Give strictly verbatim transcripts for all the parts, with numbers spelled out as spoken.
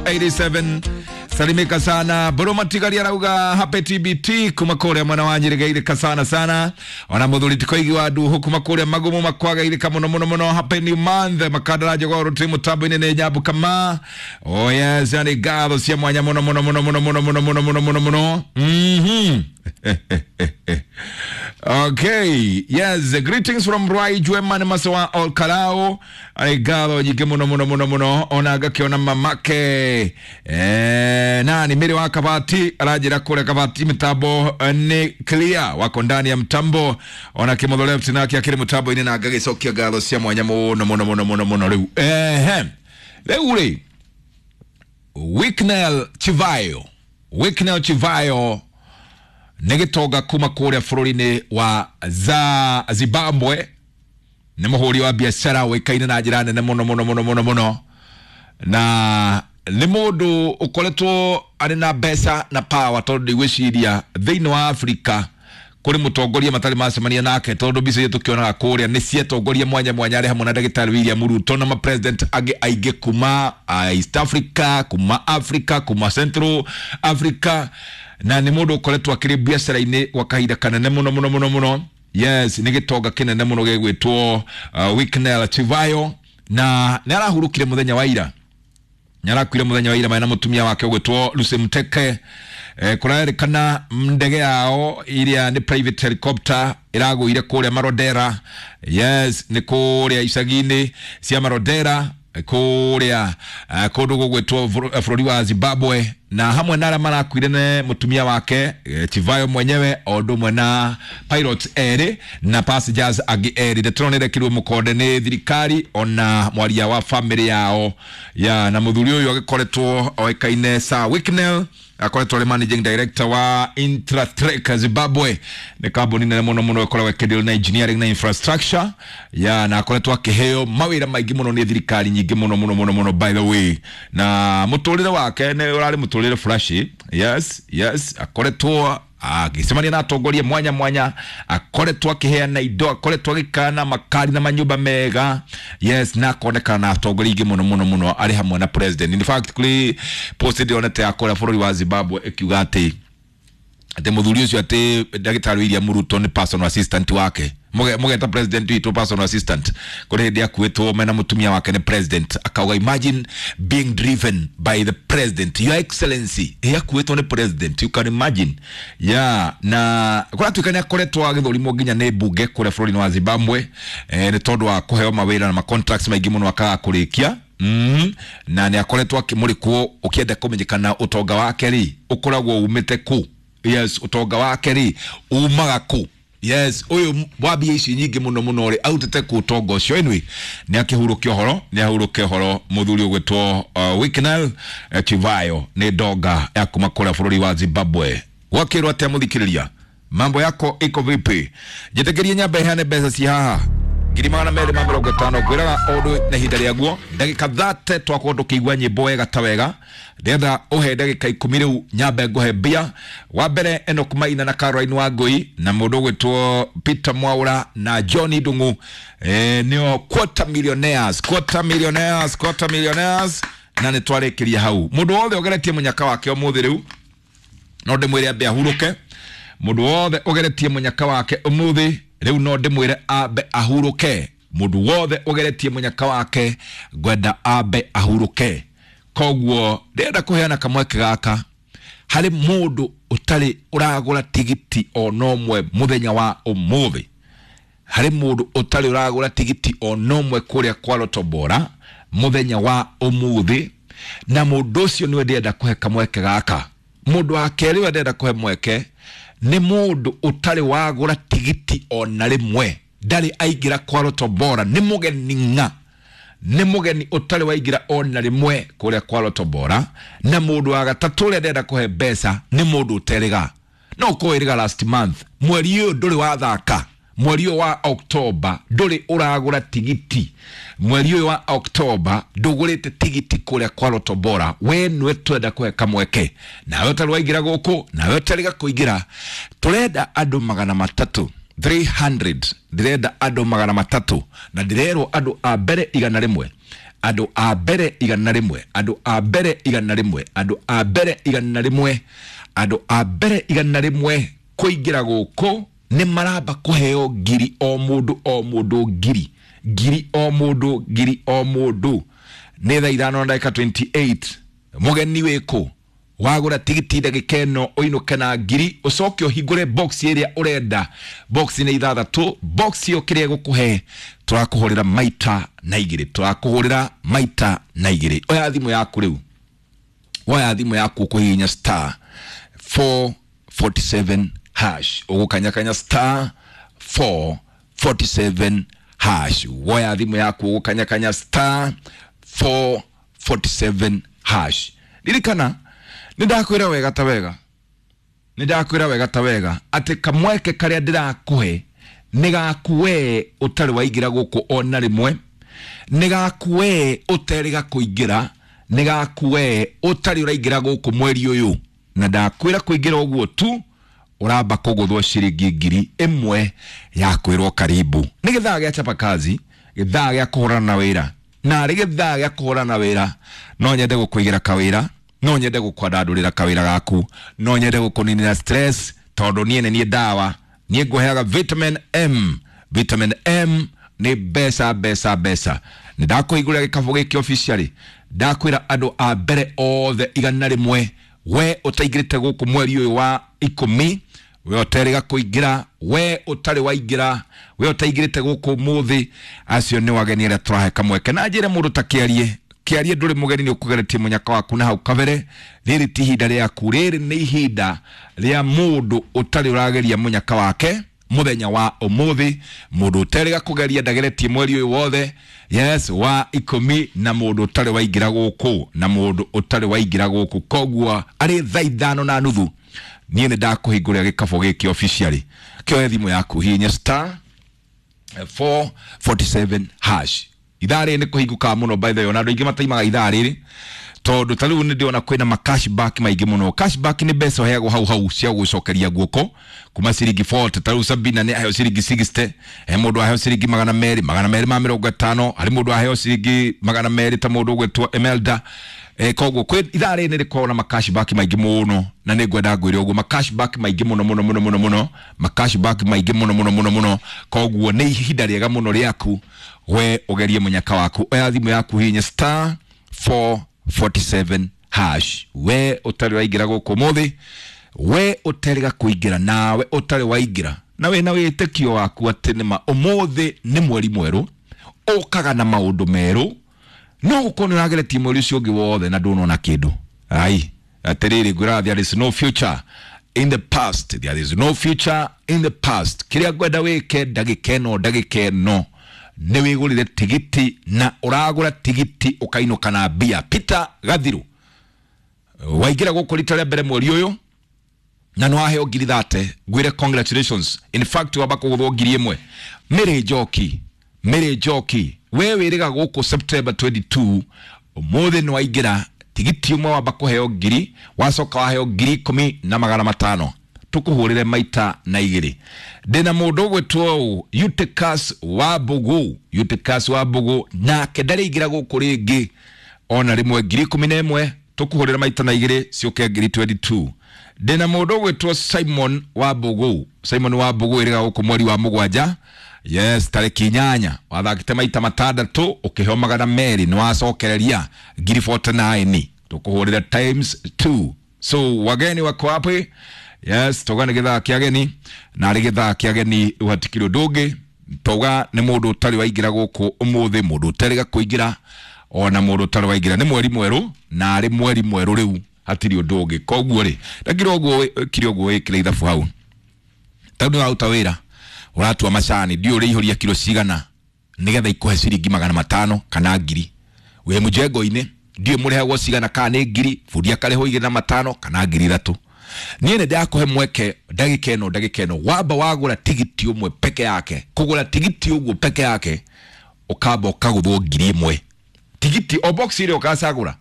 eighty-seven. Salimika sana Buruma Tigari arauga happy T B T kuma kuria mwana wa Nyirigairika sana sana. Ona muthuri tikoigi wa nduhu kuma kuria magumu makwagairika muno muno muno. Happy new month makandara jogoro turi mutambo-ini ni nyambu kama. Oh yes, yani ngatho cia mwanya muno muno muno muno muno muno muno muno muno muno. Mhm. Okay, yes, greetings from Rai Jwema Masawa All Kalao. Ngatho nyingĩ muno muno muno muno. Ona ngakiona mamake eh, nani Mary wa Kabati aranjĩra kũrĩa Kabati mitambo nĩ clear, wako ndani ya mtambo. Ona Kimotho left nake akĩrĩ mũtambo-inĩ na ngagĩcokia ngatho cia mwanya muno muno muno muno muno rĩu. Ehe, rĩu rĩ Wicknell Chivayo, Wicknell Chivayo nĩ gĩtonga kuma kũrĩa bũrũri-inĩ wa za Zimbabwe, nĩ mũhũri wa biacara ũĩkaine na njĩra nene mũno mũno mũno mũno mũno, na nĩ mũndũ ũkoretwo arĩ na mbeca na power, tondũ ndigwĩciria thĩinĩ wa Afrika kũrĩ mũtongoria matarĩ macemania nake, tondũ mbica iria tũkĩonaga kũrĩa nĩ ciatongoria mwanya mwanya arĩ hamwe na ndagĩtarĩ William Ruto na ma-president angĩ aingĩ kuma East Africa, kuma Africa, kuma Central Africa, na nĩ mũndũ ũkoretwo akĩrĩ biacara-inĩ gwa kahinda kanene mũno mũno mũno mũno. Yes, nĩ gĩtonga kĩnene mũno gĩgwĩtwo uh, Wicknell Chivayo, na nĩ arahurũkire mũthenya wa ira, nĩ arakuire mũthenya wa ira marĩ na mũtumia wake ũgwĩtwo Lucy Muteke. Eh, kũrerĩkana ndege yao iria nĩ private helicopter ĩragũire kũrĩa Marodera. Yes, nĩ kũrĩa icagi-inĩ cia Marodera kũrĩa uh, kũndũ gũgwĩtwo bũrũri wa Zimbabwe, na hamwe na arĩa marakuire nĩ mũtumia wake Chivayo mwenyewe o ũndũ ũmwe na pilots erĩ na passengers angĩ erĩ. Ndeto ĩno nĩĩrekĩrirwo mũkonde nĩ thirikari ona mwaria wa family yao ya, na mũthuri ũyũ agĩkoretwo oĩkaine Sir Wicknell, akoretwo arĩ managing director wa Intratrek Zimbabwe, nĩ kambuni nene mũno mũno ĩkoragwo ĩkĩdeal na engineering na infrastructure ya, na akoretwo akĩheo mawĩra maingĩ mũno nĩ thirikari nyingĩ mũno mũno mũno mũno by the way, na mũtũrĩre wake nĩ ũrarĩ mũtũrĩre flashy. Yes, yes, akoretwo agĩcemania na atongoria mwanya mwanya, akoretwo akĩheana indo, akoretwo agĩkana makari na manyũmba mega. Yes, na akonekana na atongoria aingĩ mũno mũno mũno arĩ hamwe na president. In fact, kũrĩ post ndĩronete ya kũrĩa bũrũri wa Zimbabwe ĩkiuga atĩ atĩ mũthuri ũcio atĩ ndagĩtarĩ William Ruto nĩ personal assistant wake. Mũgeta president witũ personal assistant kũrĩ hĩndĩ akuĩtwo mena mũtumia wake nĩ president, akauga imagine being driven by the president, your excellency. Akuĩtwo nĩ president, you can imagine. Yeah, na kũratuĩka nĩ akoretwo agĩthũrimwo nginya nĩ mbunge kũrĩa bũrũri-inĩ wa Zimbabwe eh, nĩ tondũ wa kũheo mawĩra na ma contracts maingĩ mũno akaga kũrĩkia. Mm, na nĩ akoretwo akĩmũrĩkwo ũkĩenda kũmenyekana ũtonga wake rĩ ũkoragwo umĩte kũ. Yes, ũtonga wake rĩ umaga kũ. Yes, ũyũ wa mbia ici nyingĩ mũno mũno rĩ autĩte kũ ũtonga ũcio. Anyway, nĩ akĩhurũkia ũhoro, nĩ ahurũkia ũhoro mũthuri ũgwĩtwo uh, Wicknell Chivayo, nĩ ndonga ya kuma kũrĩa bũrũri wa Zimbabwe. Gwakĩrwo atĩa mũthikĩrĩria? Mambo yako iko vipi? Njĩtĩkĩrie nyambe heane mbeca ci haha ngiri magana merĩ ma mĩrongo ĩtano, ngwĩraga ũndũ na ihinda rĩaguo ndagĩka thate twakorwo tũkĩigua nyĩmbo wega ta wega. Ndĩrenda ũhe ndagĩka ikũmi rĩu nyambe ngũhe mbia. Wa mbere Enoch Maina na Caroline Wangũi na mũndũ ũgwĩtwo Peter Mwaura na John Ndung'u, eh, nĩo quarter millionaires, quarter millionaires, quarter millionaires, na nĩ twarĩkĩria hau. Mũndũ wothe ũgeretie mũnyaka wake ũmũthĩ rĩu no ndĩmwĩre ambe ahurũke. Mũndũ wothe ũgeretie mũnyaka wake ũmũthĩ rĩu no ndĩmwĩre ambe ahurũke. Mũndũ wothe ũgeretie mũnyaka wake ngwenda ambe ahurũke. Koguo ndĩrenda kũheana kamweke gaka harĩ mũndũ ũtarĩ ũragũra tigiti ona ũmwe mũthenya wa ũmũthĩ, harĩ mũndũ ũtarĩ ũragũra tigiti ona ũmwe kũrĩa kwa Lotto Bora mũthenya wa ũmũthĩ, na mũndũ ũcio nĩwe ndĩrenda kũhe kamweke gaka. Mũndũ wa kerĩ ũrĩa ndĩrenda kũhe mweke nĩ mũndũ ũtarĩ wagũra tigiti ona rĩmwe, ndarĩ aingĩra kwa Lotto Bora, nĩ mũgeni ng'a, nĩ mũgeni ũtarĩ waingĩra ona rĩmwe kũrĩa kwa Lotto Bora. Na mũndũ wa gatatũ ũrĩa ndĩrenda kũhe mbeca nĩ mũndũ ũterĩga, no ũkorwo ĩrĩga last month, mweri ũyũ ndũrĩ wathaka, mweri ũyũ wa October ndũrĩ ũragũra tigiti, mweri ũyũ wa October ndũgũrĩte tigiti kũrĩa kwa Lotto Bora, we nĩwe twenda kũhe kamweke. Nawe ũtarĩ waingĩra gũkũ, nawe ũtarĩga kũingĩra, tũrenda andũ magana matatũ, three hundred, ndĩrenda andũ magana matatũ, na ndĩrerwo andũ a mbere igana rĩmwe Andũ a mbere igana rĩmwe, andũ a mbere igana rĩmwe, andũ a mbere igana rĩmwe, andũ a mbere igana rĩmwe kũingĩra gũkũ nĩ maramba kũheo ngiri o mũndũ o mũndũ, ngiri ngiri o mũndũ, ngiri o mũndũ. Nĩ thaa ithano na ndagĩka mĩrongo ĩrĩ na inyanya. Mũgeni wĩkũ? Wagũra tigiti ndagĩka ĩno ũinũke na ngiri, ũcoke ũhingũre box ĩrĩa ũrenda. Box nĩ ithathatũ. Box ĩyo kĩrĩa ĩgũkũhe tũrakũhũrĩra maita na igĩrĩ, tũrakũhũrĩra maita na igĩrĩ. Oya thimũ yaku rĩu, woya thimũ yaku, ũkũhihinya star four forty-seven hash, ũgũkanyakanya star four forty-seven hash. Woya thimũ yaku, ũgũkanyakanya star four forty-seven hash. Ririkana nĩ ndakwĩra wega ta wega, nĩ ndakwĩra wega ta wega atĩ kamweke karĩa ndĩrakũhe nĩ gaku wee ũtarĩ waingĩra gũkũ ona rĩmwe, nĩ gaku wee ũterĩga kũingĩra, nĩ gaku wee ũtarĩ ũraingĩra gũkũ mweri ũyũ. Na ndakwĩra kũingĩra ũguo tu ũramba kũgũthwo ciringi ngiri ĩmwe ya kwĩrwo karibu. Nĩ gĩthaa gĩa chapa kazi, gĩthaa gĩa kũhũrana na wĩra. Na arĩ gĩthaa gĩa kũhũrana na wĩra, no nyende gũkũigĩra kawĩra, no nyende gũkwandandũrĩra kawĩra gaku, no nyende gũkũninĩra stress, tondũ niĩ nĩ niĩ ndawa. Niĩ ngũheaga vitamin M. Vitamin M nĩ mbeca, mbeca, mbeca. Nĩ ndakũhingũrĩra gĩkabũ gĩkĩ officially. Ndakwĩra andũ a mbere othe igana rĩmwe, we ũtaingĩrĩte gũkũ mweri ũyũ wa ikũmi, we ũterĩga kũingĩra, we ũtarĩ waingĩra, we ũtaingĩrĩte gũkũ mũthĩ, acio nĩ wageni arĩa tũrahe kamweke. Na njĩre mũndũ ta kĩarie kĩarie, ndũrĩ mũgeni, nĩ ũkũgeretie mũnyaka waku na hau kabere. Rĩrĩ ti ihinda rĩaku, rĩrĩ nĩ ihinda rĩa mũndũ ũtarĩ ũrageria mũnyaka wake mũthenya wa ũmũthĩ, mũndũ ũterĩga kũgeria, ndageretie mweri ũyũ wothe, yes, wa ikũmi, na mũndũ ũtarĩ waingĩra gũkũ, na mũndũ ũtarĩ waingĩra gũkũ. Koguo arĩ thaa ithano na nuthu niĩ nĩ ndakũhingũrĩra gĩkabũ gĩkĩ officially. Kĩoe thimũ yaku, hihinya star four forty-seven hash. Ithaa rĩrĩ nĩ kũhingũkaga mũno, by the way. Ona andũ aingĩ mataimaga ithaa rĩrĩ, tondũ ta rĩu nĩ ndĩrona kwĩna ma cashback maingĩ mũno. Cashback nĩ mbeca ũheagwo hau hau cia gũcokeria guoko kuma ciringi mĩrongo ĩna. Ta rĩu Sabina nĩ aheo ciringi mĩrongo ĩnana, he mũndũ aheo ciringi magana merĩ, magana merĩ ma mĩrongo ĩtano, harĩ mũndũ aheo ciringi magana merĩ ta mũndũ ũgwĩtwo Emelda. Eh, koguo kwĩ ithaa rĩrĩ nĩ rĩkoragwo na ma cashback maingĩ mũno, na nĩ ngwenda ngwĩre ũguo, ma cashback maingĩ mũno mũno mũno mũno mũno, ma cashback maingĩ mũno mũno mũno mũno. Koguo nĩ ihinda rĩega mũno rĩaku we ũgerie mũnyaka waku. Oya thimũ yaku, hihinya star four forty-seven hash. We ũtarĩ waingĩra gũkũ ũmũthĩ, we ũterĩga kũingĩra, nawe ũtarĩ waingĩra, na wĩna wĩtĩkio waku atĩ nĩma ũmũthĩ nĩ mweri mwerũ ũkaga na maũndũ merũ, no gũkorwo nĩ ũrageretie mweri ũcio ũngĩ wothe na ndũnona kĩndũ. Ai, atĩrĩrĩ, ngwĩraga there is no future in the past, there is no future in the past. Kĩrĩa ngwenda wĩke ndagĩka ĩno, ndagĩka ĩno, nĩ wĩgũrĩre tigiti, na ũragũra tigiti ũkainũka na mbia. Peter Gathiru, waingĩra gũkũ rita rĩa mbere mweri ũyũ na nĩ waheo ngiri thate, ngwĩre congratulations. In fact, wamba kũgũthwo ngiri ĩmwe. Mĩrĩ Njoki, Mĩrĩ Njoki, we wĩrĩga gũkũ September twenty-second, ũmũthĩ nĩ waingĩra tigiti ũmwe, wamba kũheo ngiri, wacoka waheo ngiri ikũmi na magana matano, tũkũhũrĩre maita na igĩrĩ. Ndĩna mũndũ ũgwĩtwo ũũ, Eutychus wa Mbugu. Eutychus wa Mbugu nake ndarĩingĩra gũkũ rĩngĩ ona rĩmwe, ngiri ikũmi na ĩmwe, tũkũhũrĩra maita na igĩrĩ ciũke ngiri mĩrongo ĩrĩ na igĩrĩ. Ndĩna mũndũ ũgwĩtwo Simon wa Mbugu. Simon wa Mbugu ĩrĩga gũkũ mweri wa mũgwanja, yes, tarĩki inyanya, wathakĩte maita matandatũ, ũkĩheo magana merĩ, nĩ wacokereria ngiri mĩrongo ĩna na kenda, tũkũhũrĩra times two. So wageni wako wapi? Yes, tauga nĩ gĩthaa kĩa ageni, na arĩ gĩthaa kĩa ageni rĩu hatikĩrĩ ũndũ ũngĩ. Tauga nĩ mũndũ ũtarĩ waingĩra gũkũ ũmũthĩ, mũndũ ũterĩga kũingĩra, ona mũndũ ũtarĩ waingĩra. Nĩ mweri mwerũ, na arĩ mweri mwerũ rĩu hatirĩ ũndũ ũngĩ. Koguo rĩ, ndakĩra ũguo kire ũguo wĩkĩre ithabu hau. Tondũ nĩ ũraruta wĩra, ũratua macani, ndiũ ũrĩihũria kiro cigana nĩgetha ikũhe ciringi magana matano kana ngiri. Wĩ mũjengo-inĩ, ndiũ mũrĩhagwo cigana, kana nĩ ngiri, bundi akarĩhwo igĩrĩ na matano kana ngiri ithatũ. Niĩ nĩ ndakũhe mweke ndagĩka ĩno, ndagĩka ĩno, wamba wagũra tigiti ũmwe peke yake, kũgũra tigiti ũguo peke yake ũkamba ũkagũthwo ngiri ĩmwe. Tigiti o box ĩrĩa ũgacagũra,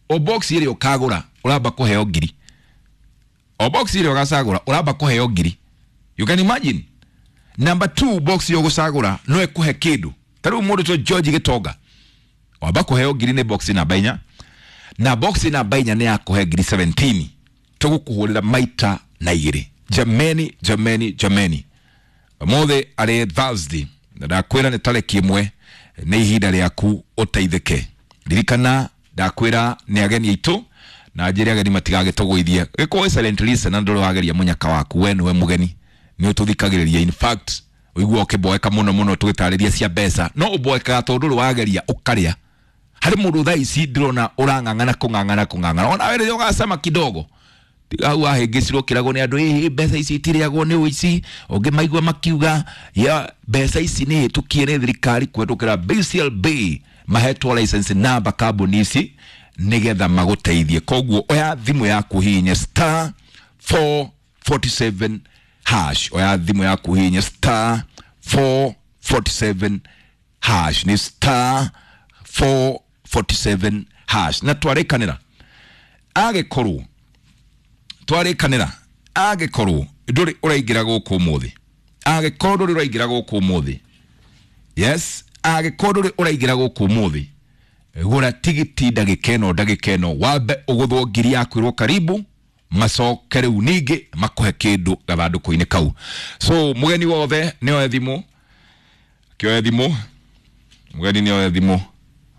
o box ĩrĩa ũkagũra ũramba kũheo ngiri, o box ĩrĩa ũgacagũra ũramba kũheo ngiri. You can imagine. Number two, box ĩyo ũgũcagũra no ĩkũhe kĩndũ. Ta rĩu mũndũ to George Gĩtonga Wamba kũheo ngiri nĩ box namba inya, na box namba inya nĩ yakũhe ngiri seventeen, tũgũkũhũrĩra maita na igĩrĩ. Jameni, jameni, jameni, ũmũthĩ arĩ Thursday na ndakwĩra nĩ tarĩki ĩmwe, nĩ ihinda rĩaku ũteithĩke. Ririkana ndakwĩra nĩ ageni aitũ na njĩre ageni matigagĩtũgũithie. Gĩkorwo silent listener, ndũrĩ wageria mũnyaka waku, we nĩwe mũgeni, nĩ ũtũthikagĩrĩria. In fact ũigua ũkĩboeka mũno mũno tũgĩtarĩria cia mbeca, no ũboekaga tondũ ndũrĩ wageria ũkarĩa. Harĩ mũndũ thaa ici ndĩrona ũrang'ang'ana kũng'ang'ana kũng'ang'ana, ona we rĩrĩa ũgacama kidogo tiga hau wahĩngĩcirwo kĩragwo nĩ andũ, ĩhĩ mbeca ici itirĩagwo nĩ ũici. Ũngĩ maigua makiuga ya mbeca ici nĩ hĩtũkie nĩ thirikari kũhetũkĩra B C L B, mahetwo license namba kambuni ici nĩgetha magũteithie. Koguo oya thimũ yaku hihinye star four forty-seven hash. Oya thimũ yaku hihinye star four forty-seven hash, nĩ star four forty-seven hash. Na twarĩkanĩra agĩkorwo twarĩkanĩra angĩkorwo ndũrĩ ũraingĩra gũkũ ũmũthĩ, angĩkorwo ndũrĩ ũraingĩra gũkũ ũmũthĩ, yes, angĩkorwo ndũrĩ ũraingĩra gũkũ ũmũthĩ, gũra tigiti ndagĩka ĩno, ndagĩka ĩno wambe ũgũthwo ngiri yaku ĩrwo karibu, macoke rĩu ningĩ makũhe kĩndũ gathandũkũ-inĩ kau. So mũgeni wothe nĩ oe thimũ, kĩoe thimũ, mũgeni nĩ oe thimũ.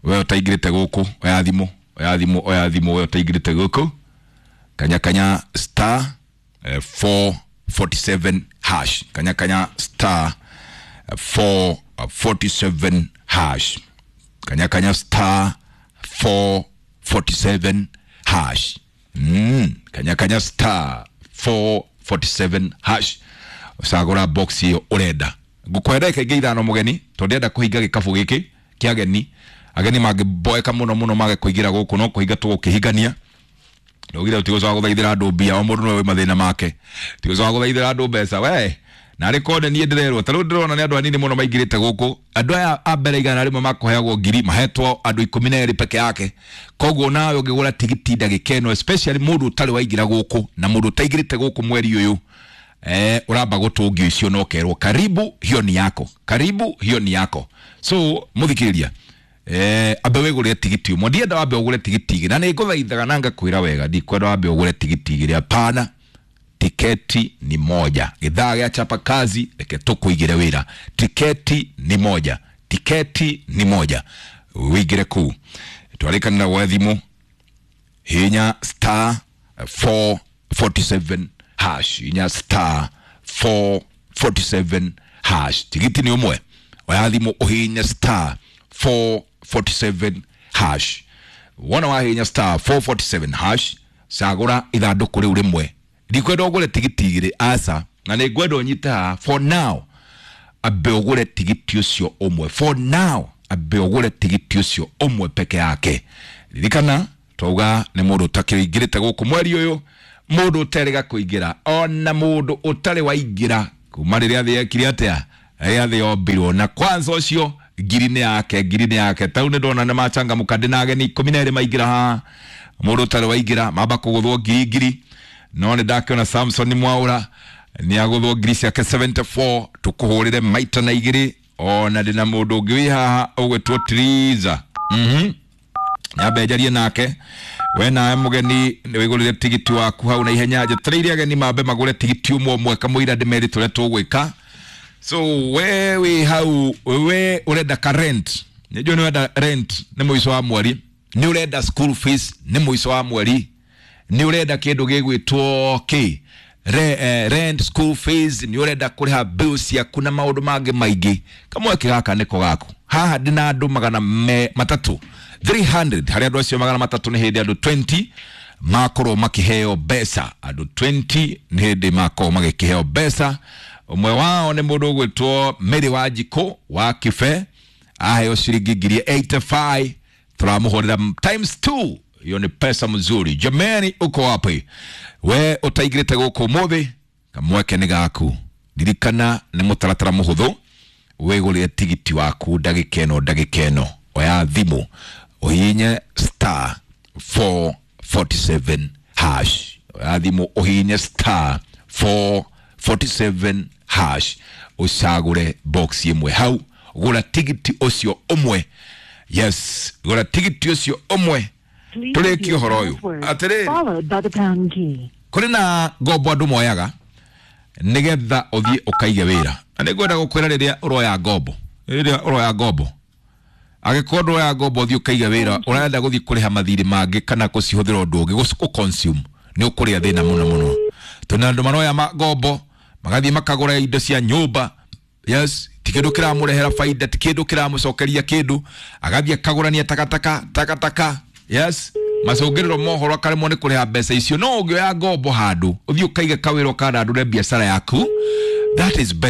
We ũtaingĩrĩte gũkũ, oya thimũ, oya thimũ, oya thimũ. We ũtaingĩrĩte gũkũ, kanya kanya star eh, four forty-seven hash, kanya kanya star eh, four forty-seven hash, kanya kanya star four forty-seven hash. mm, kanya kanya star four forty-seven hash, ũcagũra box ĩyo ũrenda. Ngũkũhe ndagĩka ingĩ ithano mũgeni, tondũ ndĩrenda kũhinga gĩkabũ gĩkĩ kĩa ageni. Ageni mangĩboeka mũno mũno mage kũingĩra gũkũ, no kũhinga tũgũkĩhingania. Ndaugire tigũcoka gũthaithĩra andũ mbia, o mũndũ nĩwe wĩ mathĩna make, tigũcoka gũthaithĩra andũ mbeca we. Narĩ kone niĩ ndĩrerwo ta rĩu ndĩrona nĩ andũ anini mũno maingĩrĩte gũkũ. Andũ aya a mbere igana rĩmwe makũheagwo ngiri, mahetwo andũ ikũmi na erĩ peke yake. Koguo nawe ũngĩgũra tigiti ndagĩka ĩno, especially mũndũ ũtarĩ waingĩra gũkũ na mũndũ ũtaingĩrĩte gũkũ mweri ũyũ, eh, ũramba gũtũngio icio na ũkerwo karibu, hiyo ni yako, karibu, hiyo ni yako. So mũthikĩrĩria, eh, ambe wĩgũrĩre tigiti ũmwe. Ndienda wambe ũgũre tigiti igĩrĩ, na nĩ ngũthaithaga na ngakwĩra wega, ndikwenda wambe ũgũre tigiti igĩrĩ, hapana. Tiketi ni moja. Gĩthaa gĩa chapa kazi, reke tũkũigĩre wĩra. Tiketi ni moja, tiketi ni moja. Wĩingĩre kũu twarĩkanĩra gwa thimũ, hinya star four forty-seven hash, hinya star four forty-seven hash. Tigiti ni ũmwe. Oya thimũ ũhinye star four forty-seven hash. Wona wahinya star four forty-seven hash, cagũra ithandũkũ rĩu rĩmwe. Ndikwenda ũgũre tigiti igĩrĩ, aca, na nĩ ngwenda ũnyite haha for now, ambe ũgũre tigiti ũcio ũmwe. For now ambe ũgũre tigiti ũcio ũmwe peke yake. Ririkana twauga nĩ mũndũ ũtakĩingĩrĩte gũkũ mweri ũyũ, mũndũ ũterĩga kũingĩra, ona mũndũ ũtarĩ waingĩra kuma rĩrĩa thĩ yekire atĩa, rĩrĩa thĩ yombirwo. Na kwanza ũcio ngiri nĩ yake, ngiri nĩ yake. Tau nĩ ndona nĩ machangamũka, ndĩna ageni ikũmi na erĩ maingĩra haha. Mũndũ ũtarĩ waingĩra mamba kũgũthwo ngiri ngiri, no nĩ ndakĩona Samson Mwaũra nĩ agũthwo ngiri ciake seventy-four, tũkũhũrĩre maita na igĩrĩ. Ona ndĩna mũndũ ũngĩ wĩ haha ũgwĩtwo Triza, mhm nyambe njarie nake. We nawe mũgeni nĩ wĩgũrĩre tigiti waku hau na ihenya. Njetereire ageni mambe magũre tigiti ũmwe ũmwe kamũira ndĩmerĩ tũrĩa tũgwĩka. So we wĩ hau, we ũrenda ka rent, nĩ njũĩ nĩ ũrenda rent nĩ mũico wa mweri, nĩ ũrenda school fees nĩ mũico wa mweri, nĩ ũrenda kĩndũ gĩgwĩtwo kĩ Re, eh, rent, school fees, nĩ ũrenda kũrĩha bills ciaku na maũndũ mangĩ maingĩ, kamweke gaka nĩko gaku. Haha ndĩna andũ magana me, matatũ, three hundred. Harĩ andũ acio magana matatũ nĩ hĩndĩ andũ twenty makorwo makĩheo mbeca, andũ twenty nĩ hĩndĩ makorwo magĩkĩheo mbeca. Ũmwe wao nĩ mũndũ ũgwĩtwo Mary Wanjikũ wa Kibe, aheo ciringi ngiri eighty-five, tũramũhũrĩra times two. Hiyo ni pesa mzuri. Jamani, uko wapi we ũtaingĩrĩte gũkũ ũmũthĩ? Kamweke nĩ gaku. Ririkana nĩ mũtaratara mũhũthũ, wĩgũrĩre tigiti waku ndagĩka ĩno, ndagĩka ĩno. Oya thimũ ũhihinye star four forty-seven hash, oya thimũ ũhihinye star four forty-seven hash, ũcagũre box ĩmwe hau, gũra tigiti ũcio ũmwe. Yes, gũra tigiti ũcio ũmwe. Please Tũrĩkie use ũhoro ũyũ. password Atĩrĩrĩ. followed by the pound key. Kũrĩ na ngombo andũ moyaga nĩgetha ũthiĩ ũkaige wĩra, na nĩngwenda gũkwĩra, rĩrĩa ũroya ngombo, rĩrĩa ũroya ngombo, angĩkorwo ndũroya ngombo ũthiĩ ũkaige wĩra, ũrenda gũthiĩ kũrĩha mathirĩ mangĩ kana gũcihũthĩra ũndũ ũngĩ, gũ consume, nĩ ũkũrĩa thĩna mũno mũno. Tondũ andũ maroya ma- ngombo magathiĩ makagũra indo cia nyũmba, yes, ti kĩndũ kĩramũrehera baida, ti kĩndũ kĩramũcokeria kĩndũ, agathiĩ akagũrania takataka takataka, yes, macũngĩrĩro mohoro akaremwo nĩ kũrĩha mbeca icio. No ũngĩoya ngombo handũ ũthiĩ ũkaige kawĩra, ũkandandũre biacara yaku, that is better.